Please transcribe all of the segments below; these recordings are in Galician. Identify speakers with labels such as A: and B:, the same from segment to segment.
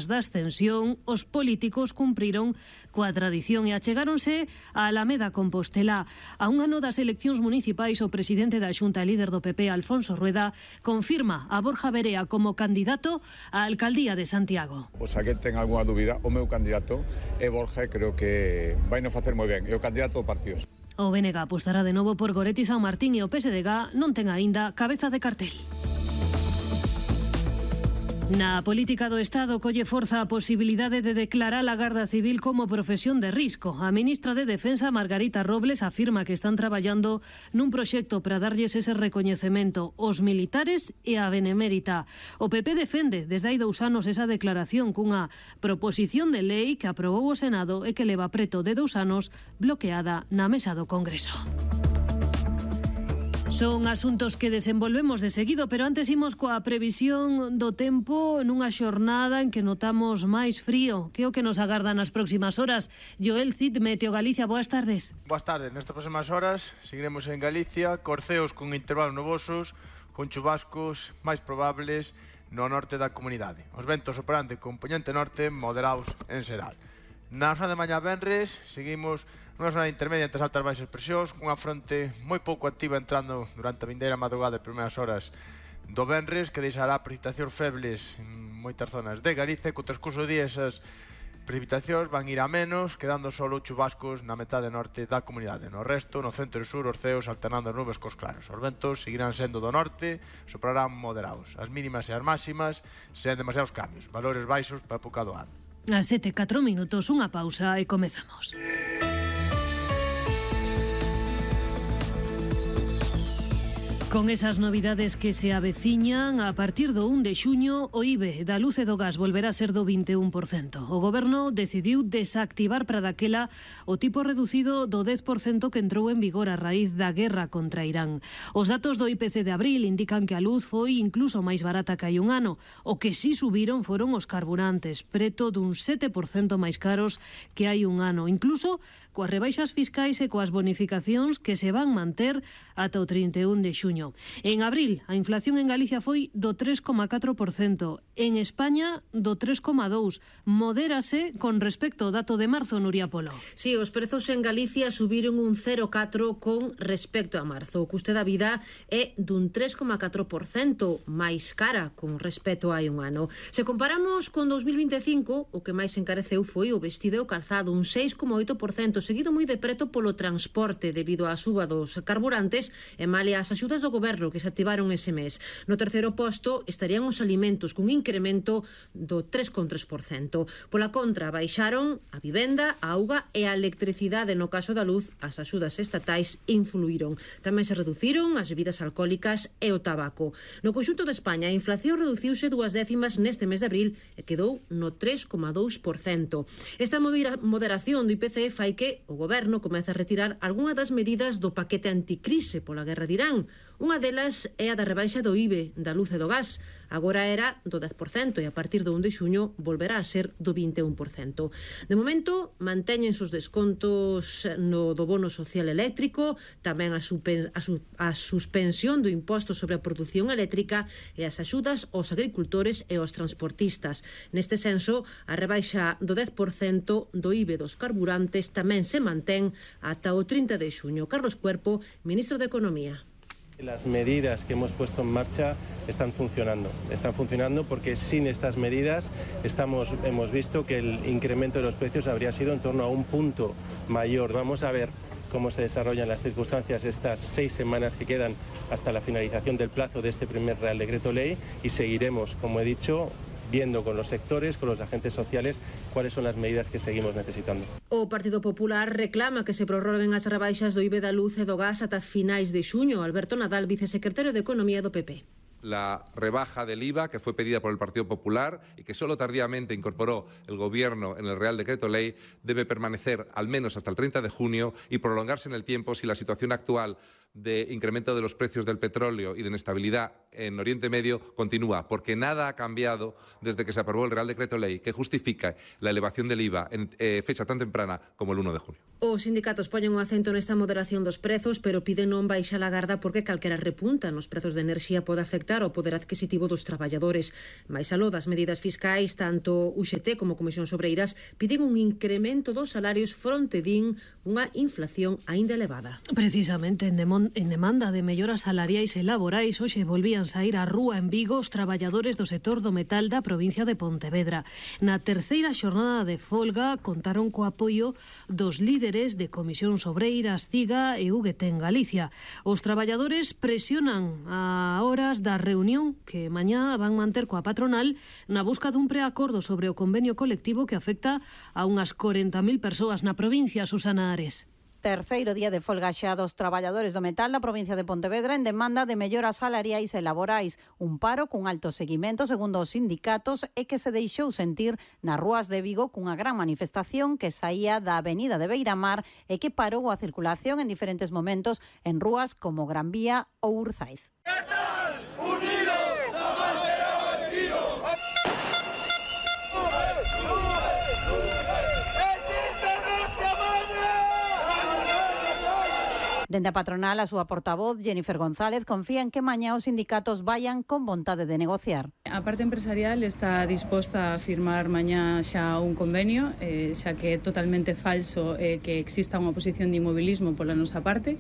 A: da ascensión, os políticos cumpriron coa tradición e achegáronse a Alameda Compostela. A un ano das eleccións municipais, o presidente da Xunta e líder do PP, Alfonso Rueda, confirma a Borja Verea como candidato á alcaldía de Santiago.
B: Se alguén ten algunha dúbida, o meu candidato é Borja e creo que vai non facer moi ben. É o candidato do partido.
A: O BNG apostará de novo por Goretti San Martín e o PSDG non ten aínda cabeza de cartel. Na política do Estado colle forza a posibilidade de declarar a Garda Civil como profesión de risco. A ministra de Defensa, Margarita Robles, afirma que están traballando nun proxecto para darlles ese recoñecemento aos militares e á benemérita. O PP defende desde hai 2 anos esa declaración cunha proposición de lei que aprobou o Senado e que leva preto de 2 anos bloqueada na mesa do Congreso. Son asuntos que desenvolvemos de seguido, pero antes imos coa previsión do tempo nunha xornada en que notamos máis frío. Que é o que nos agarda nas próximas horas? Joel Cid, Meteo Galicia, boas tardes.
C: Boas tardes. Nestas próximas horas seguiremos en Galicia, corceos con intervalos nubosos, con chubascos máis probables no norte da comunidade. Os ventos soprarán de compoñente norte moderados en xeral. Na zona de mañá venres seguimos nunha zona intermedia entre as altas e baixas presións, unha fronte moi pouco activa entrando durante a vindeira madrugada e primeiras horas do venres, que deixará precipitacións febles en moitas zonas de Galicia. Co transcurso do día esas precipitacións van ir a menos, quedando solo chubascos na metade norte da comunidade. No resto, no centro e sur, os ceos alternando as nubes cos claros. Os ventos seguirán sendo do norte, soprarán moderados. As mínimas e as máximas sen demasiados cambios, valores baixos para a época do ano.
A: A 7:04, unha pausa e comezamos. Con esas novidades que se aveciñan, a partir do 1 de xuño, o IBE da luz e do gas volverá a ser do 21%. O Goberno decidiu desactivar para daquela o tipo reducido do 10% que entrou en vigor a raíz da guerra contra Irán. Os datos do IPC de abril indican que a luz foi incluso máis barata que hai un ano. O que sí subiron foron os carburantes, preto dun 7% máis caros que hai un ano. Incluso coas rebaixas fiscais e coas bonificacións que se van manter ata o 31 de xuño. En abril, a inflación en Galicia foi do 3,4%, en España do 3,2%. Modérase con respecto ao dato de marzo, Nuria Polo.
D: Sí, os prezos en Galicia subiron un 0,4% con respecto a marzo. O custe da vida é dun 3,4% máis cara con respecto a hai un ano. Se comparamos con 2025, o que máis encareceu foi o vestido e o calzado, un 6,8%, seguido moi de preto polo transporte debido á suba dos carburantes e malia as axudas do Goberno que se activaron ese mes. No terceiro posto estarían os alimentos cun incremento do 3,3%. Pola contra, baixaron a vivenda, a auga e a electricidade. No caso da luz, as axudas estatais influíron. Tamén se reduciron as bebidas alcohólicas e o tabaco. No conxunto de España, a inflación reduciuse 2 décimas neste mes de abril e quedou no 3,2%. Esta moderación do IPC fai que o Goberno comece a retirar algunha das medidas do paquete anticrise pola guerra de Irán. Unha delas é a da rebaixa do IBE da luz e do gas. Agora era do 10% e a partir do 1 de xuño volverá a ser do 21%. De momento, mantéñense os descontos do bono social eléctrico, tamén a suspensión do imposto sobre a produción eléctrica e as axudas aos agricultores e aos transportistas. Neste senso, a rebaixa do 10% do IBE dos carburantes tamén se mantén ata o 30 de xuño. Carlos Cuerpo, ministro de Economía.
E: Las medidas que hemos puesto en marcha están funcionando porque sin estas medidas hemos visto que el incremento de los precios habría sido en torno a un punto mayor. Vamos a ver cómo se desarrollan las circunstancias estas 6 semanas que quedan hasta la finalización del plazo de este primer Real Decreto Ley y seguiremos, como he dicho, viendo con los sectores, con los agentes sociales, cuáles son las medidas que seguimos necesitando.
D: O Partido Popular reclama que se prorroguen as rebaixas do IBE da luz e do gas ata finais de xuño. Alberto Nadal, vicesecretario de Economía do PP.
F: La rebaja del IVA que fue pedida por el Partido Popular y que solo tardíamente incorporó el Gobierno en el Real Decreto Ley debe permanecer al menos hasta el 30 de junio y prolongarse en el tiempo si la situación actual de incremento de los precios del petróleo y de inestabilidad en Oriente Medio continúa, porque nada ha cambiado desde que se aprobó el Real Decreto Ley que justifica la elevación del IVA en fecha tan temprana como el 1 de junio.
D: Os sindicatos poñen un acento nesta moderación dos prezos, pero piden non baixar a garda porque calquera repunta nos prezos de enerxía pode afectar ao poder adquisitivo dos traballadores. Mais aló das medidas fiscais, tanto UGT como Comisións Obreiras piden un incremento dos salarios fronte din unha inflación aínda elevada.
A: Precisamente en demanda de melloras salariais e laborais, hoxe volvían saír á rúa en Vigo os traballadores do sector do metal da provincia de Pontevedra. Na terceira xornada de folga contaron co apoio dos líderes de Comisións Obreiras, CIGA e UGT en Galicia. Os traballadores presionan a horas da reunión que mañá van manter coa patronal na busca dun preacordo sobre o convenio colectivo que afecta a unhas 40.000 persoas na provincia. Susana Ares.
G: Terceiro día de folga xa dos traballadores do metal da provincia de Pontevedra en demanda de melloras salariais e laborais. Un paro cun alto seguimento, segundo os sindicatos, e que se deixou sentir nas rúas de Vigo cunha gran manifestación que saía da avenida de Beiramar e que parou a circulación en diferentes momentos en rúas como Gran Vía ou Urzaiz. Dende a patronal, a súa portavoz, Jennifer González, confía en que mañá os sindicatos vayan con vontade de negociar.
H: A parte empresarial está disposta a firmar mañá xa un convenio, xa que é totalmente falso que exista unha posición de inmobilismo pola nosa parte.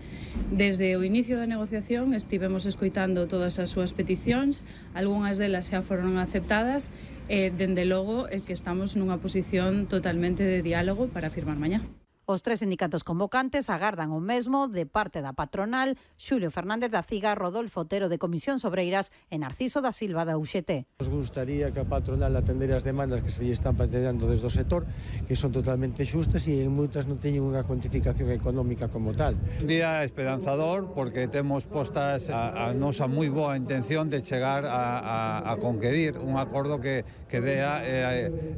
H: Desde o inicio da negociación estivemos escoitando todas as súas peticións, algunhas delas xa foron aceptadas, dende logo que estamos nunha posición totalmente de diálogo para firmar mañá.
G: Os tres sindicatos convocantes agardan o mesmo de parte da patronal, Xulio Fernández da CIGA, Rodolfo Otero de Comisións Obreiras e Narciso da Silva da UGT.
I: Nos gustaría que a patronal atendera as demandas que se lle están planteando desde o sector, que son totalmente xustas e en moitas non teñen unha cuantificación económica como tal.
J: Un día esperanzador porque temos postas a nosa moi boa intención de chegar a conquerir un acordo que dea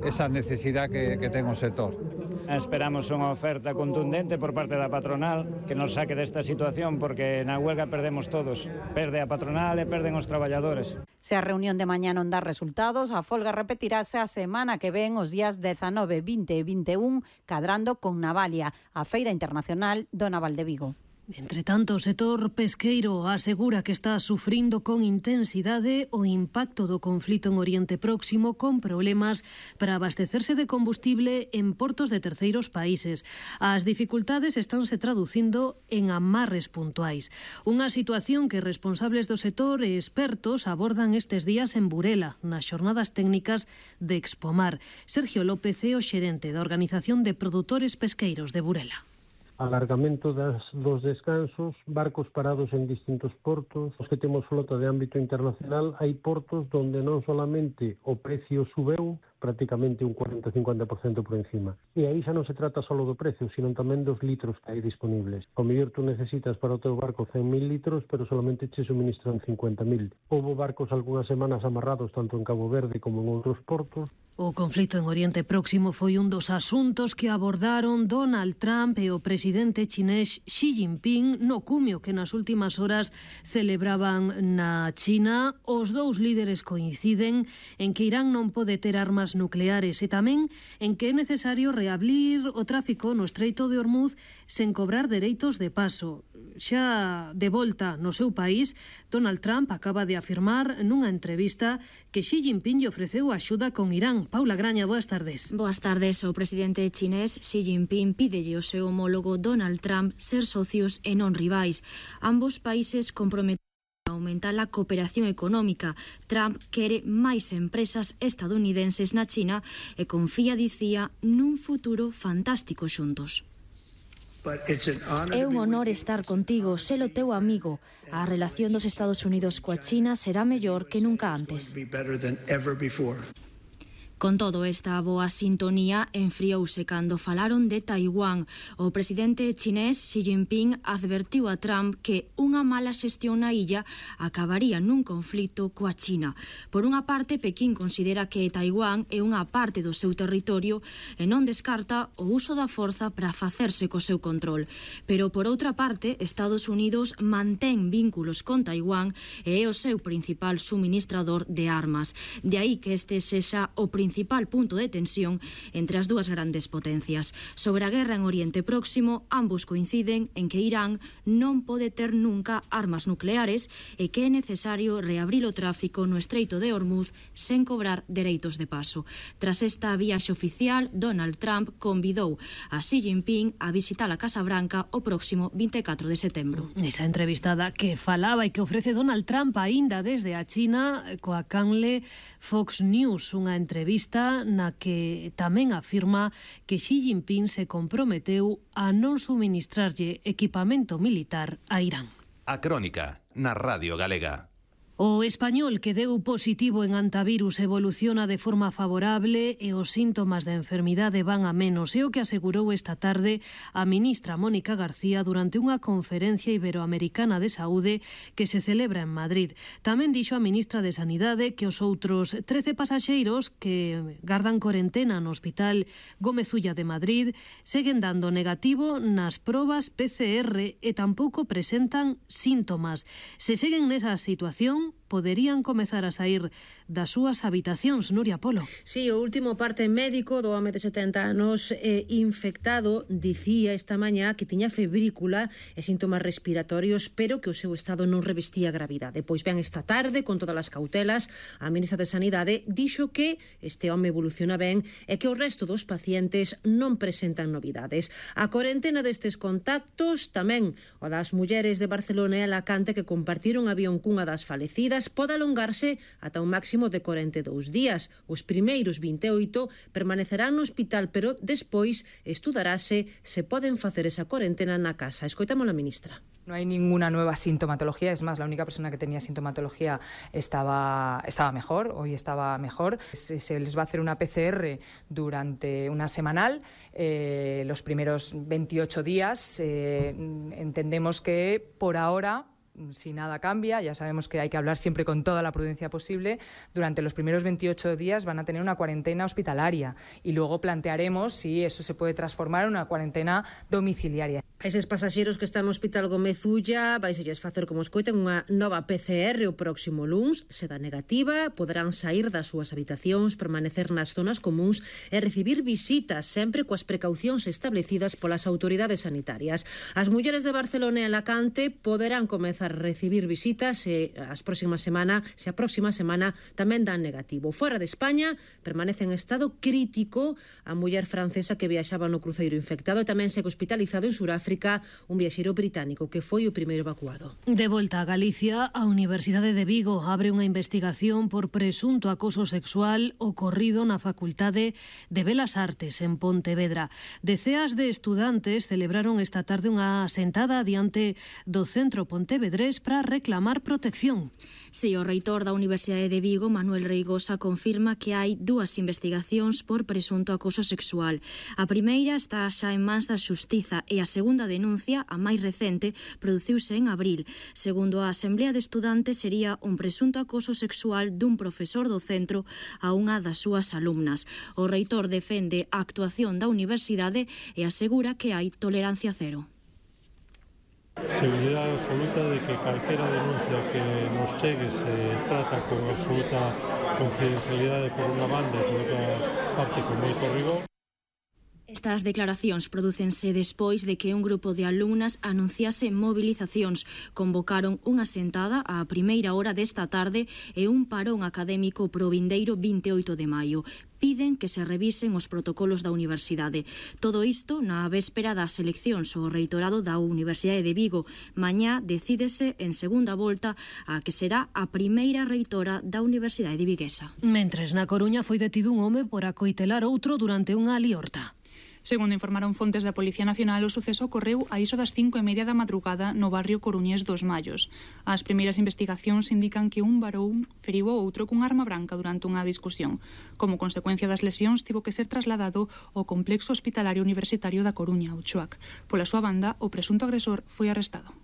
J: esa necesidade que ten o sector.
K: Esperamos unha oferta contundente por parte da patronal que nos saque desta situación porque na huelga perdemos todos. Perde a patronal e perden os traballadores.
G: Se a reunión de mañá non dá resultados, a folga repetirase a semana que ven os días 19, 20 e 21, cadrando con Navalia, a Feira Internacional do Naval de Vigo.
A: Entre tanto, o sector pesqueiro asegura que está sufrindo con intensidade o impacto do conflito en Oriente Próximo con problemas para abastecerse de combustible en portos de terceiros países. As dificultades estánse traducindo en amarres puntuais. Unha situación que responsables do sector e expertos abordan estes días en Burela, nas xornadas técnicas de Expomar. Sergio López é o xerente da Organización de Produtores Pesqueiros de Burela.
L: Alargamento dos descansos, barcos parados en distintos portos. Os que temos flota de ámbito internacional, hai portos donde non solamente o precio subeu, prácticamente un 40-50% por encima. E aí xa non se trata só do precio, sino tamén dos litros que hai disponibles. O mellor tú necesitas para o teu barco 100.000 litros, pero solamente che suministran 50.000. Houbo barcos algunhas semanas amarrados tanto en Cabo Verde como en outros portos.
A: O conflito en Oriente Próximo foi un dos asuntos que abordaron Donald Trump e o presidente chinés Xi Jinping no cumio que nas últimas horas celebraban na China. Os dous líderes coinciden en que Irán non pode ter armas nucleares e tamén en que é necesario reabrir o tráfico no Estreito de Hormuz sen cobrar dereitos de paso. Xa de volta no seu país, Donald Trump acaba de afirmar nunha entrevista que Xi Jinping lle ofreceu axuda con Irán. Paula Graña, boas tardes.
M: Boas tardes. O presidente chinés Xi Jinping pídelle ao seu homólogo Donald Trump ser socios e non rivais. Ambos países comprometen a aumentar a cooperación económica. Trump quere máis empresas estadounidenses na China e confía, dicía, nun futuro fantástico xuntos.
N: É un honor estar contigo, ser o teu amigo. A relación dos Estados Unidos coa China será mellor que nunca antes.
M: Con todo, esta boa sintonía enfriouse cando falaron de Taiwán. O presidente chinés Xi Jinping advertiu a Trump que unha mala xestión na illa acabaría nun conflito coa China. Por unha parte, Pekín considera que Taiwán é unha parte do seu territorio e non descarta o uso da forza para facerse co seu control. Pero, por outra parte, Estados Unidos mantén vínculos con Taiwán e é o seu principal suministrador de armas. De aí que este sexa o principal punto de tensión entre as dúas grandes potencias. Sobre a guerra en Oriente Próximo, ambos coinciden en que Irán non pode ter nunca armas nucleares e que é necesario reabrir o tráfico no Estreito de Hormuz sen cobrar dereitos de paso. Tras esta viaxe oficial, Donald Trump convidou a Xi Jinping a visitar a Casa Branca o próximo 24 de setembro.
A: Esa entrevistada que falaba e que ofrece Donald Trump aínda desde a China coa canle Fox News, unha entrevista na que tamén afirma que Xi Jinping se comprometeu a non suministrarlle equipamento militar a Irán.
O: A Crónica, na Radio Galega.
A: O español que deu positivo en antivirus evoluciona de forma favorable e os síntomas da enfermidade van a menos. É o que asegurou esta tarde a ministra Mónica García durante unha conferencia iberoamericana de saúde que se celebra en Madrid. Tamén dixo a ministra de Sanidade que os outros 13 pasaxeiros que gardan corentena no Hospital Gómez Ulla de Madrid seguen dando negativo nas probas PCR e tampouco presentan síntomas. Se seguen nesa situación, poderían comezar a sair das súas habitacións. Nuria Polo.
D: Sí, o último parte médico do home de 70 anos infectado dicía esta mañá que tiña febrícula e síntomas respiratorios, pero que o seu estado non revestía gravidade. Pois ben, esta tarde, con todas as cautelas, a ministra de Sanidade dixo que este home evoluciona ben e que o resto dos pacientes non presentan novidades. A corentena destes contactos, tamén o das mulleres de Barcelona e Alacante que compartiron avión cunha das falecidas, pode alongarse ata un máximo de 42 días. Os primeiros 28 permanecerán no hospital, pero despois estudarase se poden facer esa corentena na casa. Escoitamos a ministra.
P: No hay ninguna nueva sintomatología, es más, la única persona que tenía sintomatología estaba mejor, hoy estaba mejor. Se les va a hacer una PCR durante una semanal, los primeros 28 días. Entendemos que por ahora, si nada cambia, ya sabemos que hay que hablar siempre con toda la prudencia posible, durante los primeros 28 días van a tener una cuarentena hospitalaria y luego plantearemos si eso se puede transformar en una cuarentena domiciliaria.
D: A eses pasaxeros que están no Hospital Gómez Ulla vaiselles facer, como escoiten, unha nova PCR o próximo luns. Se dá negativa, poderán sair das súas habitacións, permanecer nas zonas comuns e recibir visitas, sempre coas precaucións establecidas polas autoridades sanitarias. As mulleres de Barcelona e Alacante poderán comezar a recibir visitas se a próxima semana tamén dan negativo. Fora de España permanece en estado crítico a muller francesa que viaxaba no cruceiro infectado e tamén segue hospitalizado en Suráfrica un viaxeiro británico que foi o primeiro evacuado.
A: De volta a Galicia, a Universidade de Vigo abre unha investigación por presunto acoso sexual ocorrido na Facultade de Belas Artes en Pontevedra. Deceas de estudantes celebraron esta tarde unha sentada diante do Centro Pontevedrés para reclamar protección.
M: Si, o reitor da Universidade de Vigo, Manuel Reigosa, confirma que hai dúas investigacións por presunto acoso sexual. A primeira está xa en mans da Xustiza e a segunda denuncia, a máis recente, produciuse en abril. Segundo a Asamblea de Estudantes, sería un presunto acoso sexual dun profesor do centro a unha das súas alumnas. O reitor defende a actuación da universidade e asegura que hai tolerancia cero.
Q: Seguridade absoluta de que calquera denuncia que nos chegue se trata con absoluta confidencialidade por unha banda e por outra parte con moito rigor.
M: Estas declaracións prodúcense despois de que un grupo de alumnas anunciase movilizacións. Convocaron unha sentada á primeira hora desta tarde e un parón académico pro vindeiro 28 de maio. Piden que se revisen os protocolos da universidade. Todo isto na véspera das eleccións ao reitorado da Universidade de Vigo. Mañá decídese en segunda volta a que será a primeira reitora da Universidade de Viguesa.
A: Mentres na Coruña foi detido un home por acoitelar outro durante unha liorta.
R: Segundo informaron fontes da Policía Nacional, o suceso ocorreu a iso das 5:30 da madrugada no barrio coruñés dos Mallos. As primeiras investigacións indican que un varón feriu o outro cun arma branca durante unha discusión. Como consecuencia das lesións, tivo que ser trasladado ao complexo hospitalario universitario da Coruña, o CHUAC. Pola súa banda, o presunto agresor foi arrestado.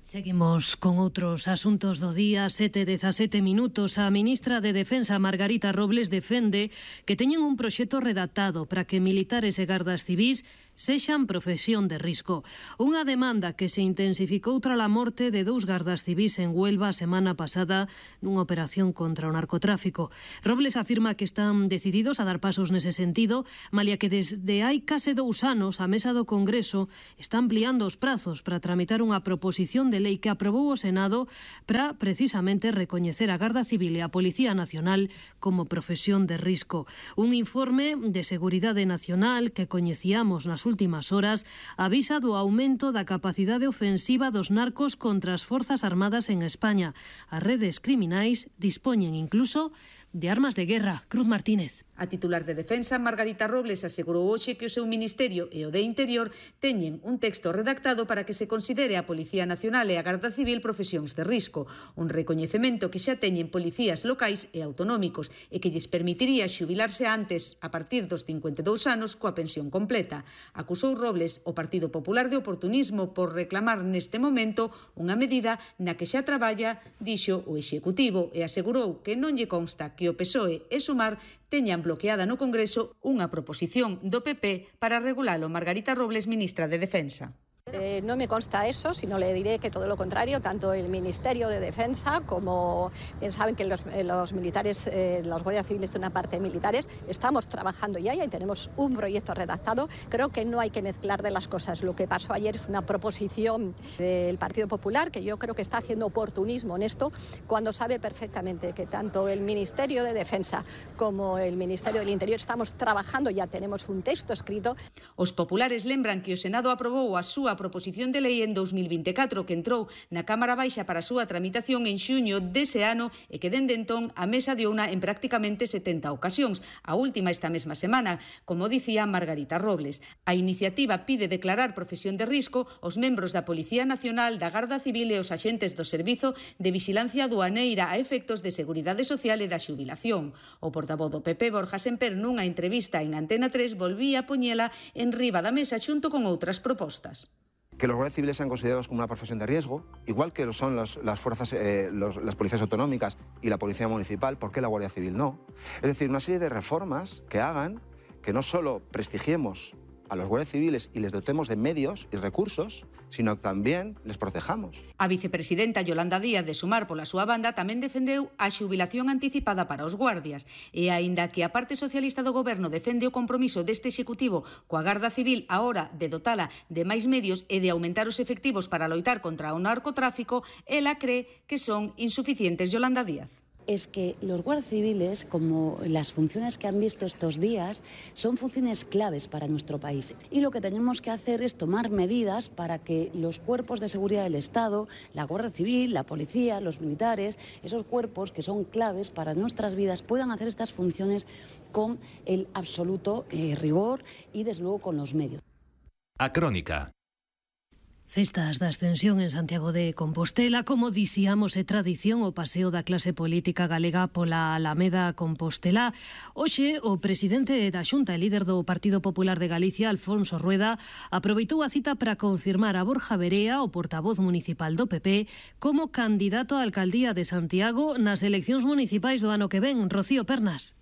A: Seguimos con outros asuntos do día. 7:17 minutos. A ministra de Defensa, Margarita Robles, defende que teñen un proxecto redactado para que militares e gardas civís sexan profesión de risco. Unha demanda que se intensificou tras a morte de 2 gardas civís en Huelva a semana pasada nunha operación contra o narcotráfico. Robles afirma que están decididos a dar pasos nese sentido, malia que desde hai case 2 anos a Mesa do Congreso está ampliando os prazos para tramitar unha proposición de lei que aprobou o Senado para precisamente recoñecer a Garda Civil e a Policía Nacional como profesión de risco. Un informe de Seguridade Nacional que coñecíamos nas últimas horas avisa do aumento da capacidade ofensiva dos narcos contra as Forzas Armadas en España. As redes criminais dispoñen incluso de armas de guerra. Cruz Martínez.
S: A titular de Defensa, Margarita Robles, asegurou hoxe que o seu Ministerio e o de Interior teñen un texto redactado para que se considere a Policía Nacional e a Garda Civil profesións de risco, un recoñecemento que xa teñen policías locais e autonómicos e que lles permitiría xubilarse antes, a partir dos 52 anos, coa pensión completa. Acusou Robles o Partido Popular de oportunismo por reclamar neste momento unha medida na que xa traballa, dixo o Executivo, e asegurou que non lle consta que o PSOE e Sumar teñan bloqueada no Congreso unha proposición do PP para regulalo. Margarita Robles, ministra de Defensa.
T: No me consta eso, sino le diré que todo lo contrario, tanto el Ministerio de Defensa como bien saben que los militares, los guardias civiles de una parte militares, estamos trabajando ya y tenemos un proyecto redactado. Creo que no hay que mezclar de las cosas. Lo que pasó ayer es una proposición del Partido Popular que yo creo que está haciendo oportunismo en esto, cuando sabe perfectamente que tanto el Ministerio de Defensa como el Ministerio del Interior estamos trabajando, ya tenemos un texto escrito.
S: Os populares lembran que o Senado aprobou a súa proposición de lei en 2024 que entrou na Cámara Baixa para a súa tramitación en xuño dese ano e que dende entón a mesa diouna en prácticamente 70 ocasións, a última esta mesma semana, como dicía Margarita Robles. A iniciativa pide declarar profesión de risco os membros da Policía Nacional, da Garda Civil e os axentes do Servizo de Vixilancia Aduaneira a efectos de seguridade social e da xubilación. O portavoz do PP, Borja Semper, nunha entrevista en Antena 3 volvía a poñela en riba da mesa xunto con outras propostas.
U: Que los guardias civiles sean considerados como una profesión de riesgo, igual que lo son las policías autonómicas y la policía municipal. ¿Por qué la Guardia Civil no? Es decir, una serie de reformas que hagan que no solo prestigiemos a los guardias civiles y les dotemos de medios y recursos, sino que también les protejamos.
S: A vicepresidenta Yolanda Díaz de Sumar pola súa banda tamén defendeu a xubilación anticipada para os guardias e aínda que a parte socialista do goberno defende o compromiso deste Executivo coa Garda Civil a hora de dotala de máis medios e de aumentar os efectivos para loitar contra o narcotráfico, ela cree que son insuficientes. Yolanda Díaz.
V: Es que los guardias civiles, como las funciones que han visto estos días, son funciones claves para nuestro país. Y lo que tenemos que hacer es tomar medidas para que los cuerpos de seguridad del Estado, la Guardia Civil, la policía, los militares, esos cuerpos que son claves para nuestras vidas, puedan hacer estas funciones con el absoluto rigor y, desde luego, con los medios.
O: A Crónica.
A: Festas da Ascensión en Santiago de Compostela. Como dicíamos, é tradición o paseo da clase política galega pola Alameda Compostela. Hoxe, o presidente da Xunta e líder do Partido Popular de Galicia, Alfonso Rueda, aproveitou a cita para confirmar a Borja Verea, o portavoz municipal do PP, como candidato á alcaldía de Santiago nas eleccións municipais do ano que ven. Rocío Pernas.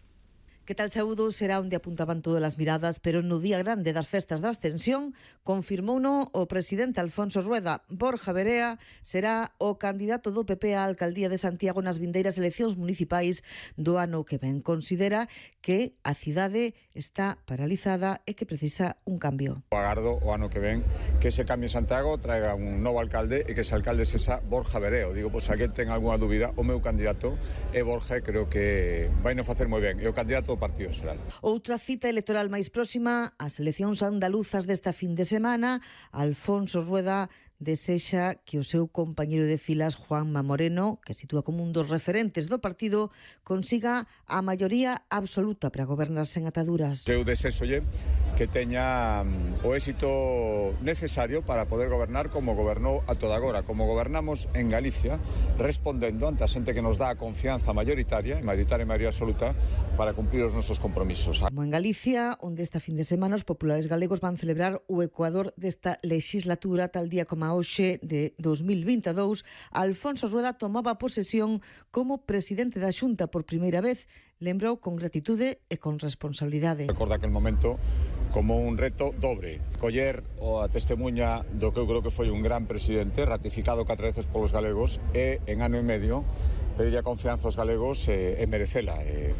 W: Que tal saúdo será onde apuntaban todas as miradas, pero no día grande das festas da Ascensión confirmouno o presidente Alfonso Rueda. Borja Verea será o candidato do PP á alcaldía de Santiago nas vindeiras eleccións municipais do ano que ven. Considera que a cidade está paralizada e que precisa un cambio.
B: Agardo o ano que ven que ese cambio en Santiago traiga un novo alcalde e que ese alcalde sexa Borja Verea. Digo, pois alguén ten algunha dúbida, o meu candidato é Borja e creo que vai non facer moi ben. É o candidato Partido Social.
W: Outra cita electoral máis próxima, as eleccións andaluzas desta fin de semana. Alfonso Rueda desexa que o seu compañeiro de filas, Juanma Moreno, que sitúa como un dos referentes do partido, consiga a maioría absoluta para gobernar sen ataduras.
B: Eu desexolle que teña o éxito necesario para poder gobernar como gobernou a toda agora, como gobernamos en Galicia, respondendo ante a xente que nos dá a confianza mayoritaria e maioría absoluta para cumprir os nosos compromisos.
W: Como en Galicia, onde esta fin de semana os populares galegos van celebrar o ecuador desta legislatura, tal día como hoxe de 2022, Alfonso Rueda tomaba posesión como presidente da Xunta por primeira vez. Lembrou con gratitude e con responsabilidade.
B: Recorda aquel momento como un reto dobre, coller a testemunha do que eu creo que foi un gran presidente, ratificado 4 veces polos galegos, e en ano e medio pediría confianza aos galegos e merecela.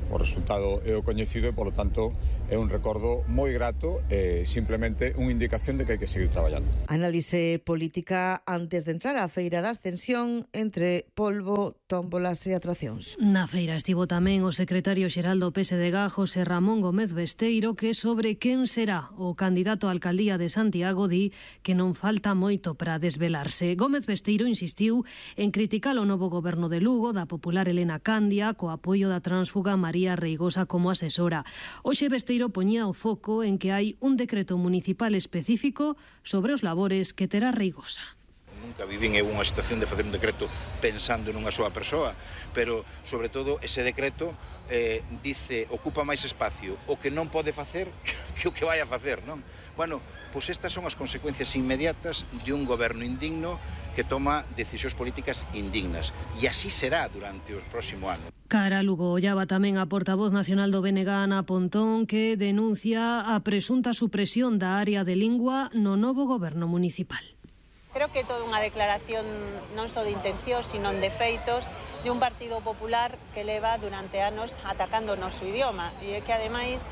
B: O resultado é o coñecido e, polo tanto, é un recordo moi grato e simplemente unha indicación de que hai que seguir traballando.
W: Análise política antes de entrar á Feira da Ascensión entre polvo, tómbolas e atraccións.
A: Na feira estivo tamén o secretario xeral do PSDG, José Ramón Gómez Besteiro, que sobre quen será o candidato á alcaldía de Santiago di que non falta moito para desvelarse. Gómez Besteiro insistiu en criticar o novo goberno de Lugo, da popular Elena Candia, co apoio da tránsfuga María Reigosa como asesora. Hoxe Besteiro poñía o foco en que hai un decreto municipal específico sobre os labores que terá Reigosa.
C: Nunca vivín en unha situación de facer un decreto pensando nunha soa persoa, pero, sobre todo, ese decreto dice, ocupa máis espacio o que non pode facer que o que vai a facer, non? Bueno, pois estas son as consecuencias inmediatas de un goberno indigno que toma decisións políticas indignas. E así será durante o próximo ano.
A: Cara Lugo ollaba tamén a portavoz nacional do BNG, Ana Pontón, que denuncia a presunta supresión da área de lingua no novo goberno municipal.
E: Creo que é toda unha declaración non só de intencións, sino de feitos de un Partido Popular que leva durante anos atacando o noso idioma. E que, ademais,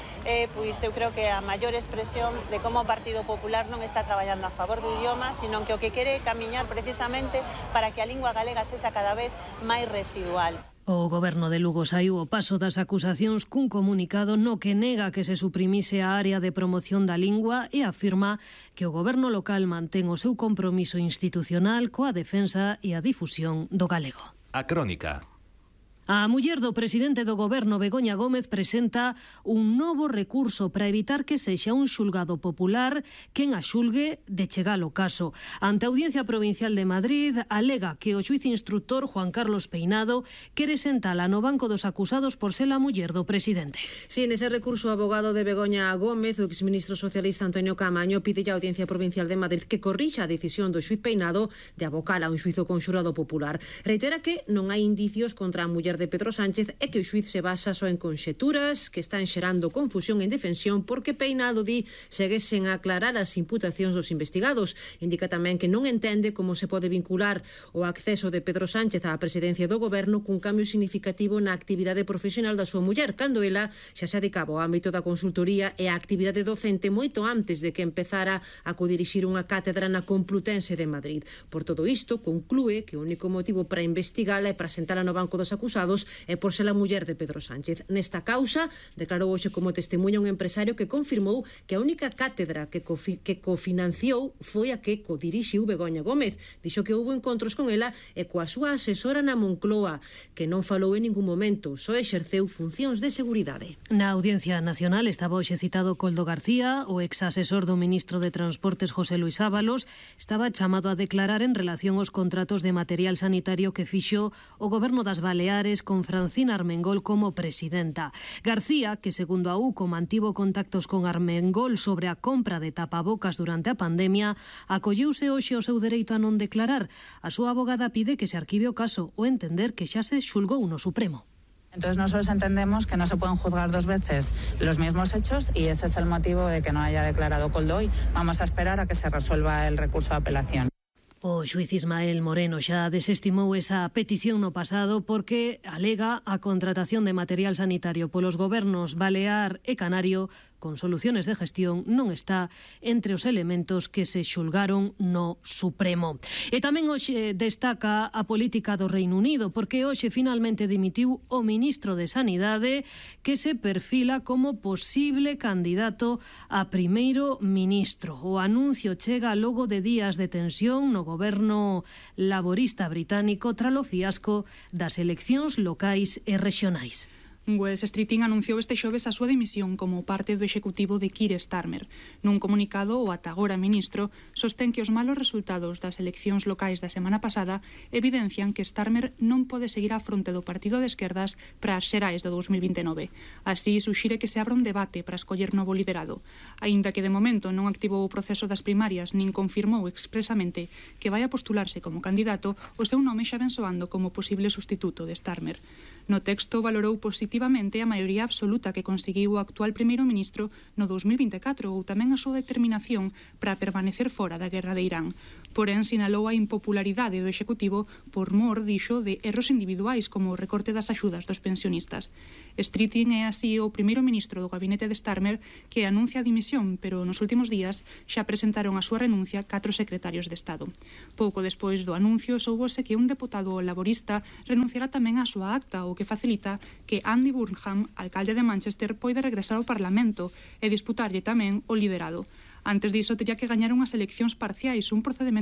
E: pois eu creo que a maior expresión de como o Partido Popular non está traballando a favor do idioma, sino que o que quere é camiñar precisamente para que a lingua galega sexa cada vez máis residual.
A: O goberno de Lugo saiu ao paso das acusacións cun comunicado no que nega que se suprimise a área de promoción da lingua e afirma que o goberno local mantén o seu compromiso institucional coa defensa e a difusión do galego.
O: A Crónica.
A: A muller do presidente do goberno, Begoña Gómez, presenta un novo recurso para evitar que sexa un xulgado popular quen a xulgue de chegar o caso. Ante a Audiencia Provincial de Madrid, alega que o xuiz instructor Juan Carlos Peinado quere sentala no banco dos acusados por ser a muller do presidente.
D: Sí, nese recurso, o abogado de Begoña Gómez, o exministro socialista Antonio Caamaño, pide a Audiencia Provincial de Madrid que corrixa a decisión do xuiz Peinado de abocar a un xuizo con xurado popular. Reitera que non hai indicios contra a muller de Pedro Sánchez e que o xuiz se basa só en conxeturas que están xerando confusión e indefensión porque Peinado di seguesen a aclarar as imputacións dos investigados. Indica tamén que non entende como se pode vincular o acceso de Pedro Sánchez á presidencia do goberno cun cambio significativo na actividade profesional da súa muller, cando ela xa se adicaba ao ámbito da consultoría e a actividade docente moito antes de que empezara a codirixir unha cátedra na Complutense de Madrid. Por todo isto, conclúe que o único motivo para investigala e para sentala no banco dos acusados e por ser a muller de Pedro Sánchez. Nesta causa, declarou hoxe como testemunha un empresario que confirmou que a única cátedra que cofinanciou foi a que codirixiu Begoña Gómez. Dixo que houve encontros con ela e coa súa asesora na Moncloa, que non falou en ningún momento, só exerceu funcións de seguridade.
A: Na Audiencia Nacional estaba hoxe citado Koldo García, o exasesor do ministro de Transportes José Luis Ábalos, estaba chamado a declarar en relación aos contratos de material sanitario que fixo o goberno das Baleares con Francina Armengol como presidenta. García, que segundo a UCO mantivo contactos con Armengol sobre a compra de tapabocas durante a pandemia, acolleuse hoxe o seu dereito a non declarar. A súa abogada pide que se arquive o caso o entender que xa se xulgou no Supremo.
F: Entonces nosotros entendemos que no se pueden juzgar dos veces los mismos hechos y ese es el motivo de que no haya declarado Koldo hoy. Vamos a esperar a que se resuelva el recurso de apelación.
A: O xuiz Ismael Moreno xa desestimou esa petición no pasado porque alega a contratación de material sanitario polos gobernos Balear e Canario con soluciones de gestión non está entre os elementos que se xulgaron no Supremo. E tamén hoxe destaca a política do Reino Unido, porque hoxe finalmente dimitiu o ministro de Sanidade, que se perfila como posible candidato a primeiro ministro. O anuncio chega logo de días de tensión no goberno laborista británico tras o fiasco das eleccións locais e rexionais.
R: Wes Streeting anunciou este xoves a súa dimisión como parte do executivo de Keir Starmer. Nun comunicado, o ata agora ministro sostén que os malos resultados das eleccións locais da semana pasada evidencian que Starmer non pode seguir á fronte do partido de esquerdas para as xerais de 2029. Así, suxire que se abra un debate para escoller novo liderado. Aínda que de momento non activou o proceso das primarias nin confirmou expresamente que vai a postularse como candidato, o seu nome xa ven soando como posible sustituto de Starmer. No texto valorou positivamente a maioría absoluta que conseguiu o actual primeiro ministro no 2024 ou tamén a súa determinación para permanecer fora da guerra de Irán. Porén, sinalou a impopularidade do Executivo por mor, dixo, de erros individuais como o recorte das axudas dos pensionistas. Streeting é así o primeiro ministro do gabinete de Starmer que anuncia a dimisión, pero nos últimos días xa presentaron a súa renuncia 4 secretarios de Estado. Pouco despois do anuncio, soubose que un deputado laborista renunciará tamén á súa acta, o que facilita que Andy Burnham, alcalde de Manchester, poida regresar ao Parlamento e disputarlle tamén o liderado. Antes diso, tería que gañar unhas eleccións parciais, un procedimento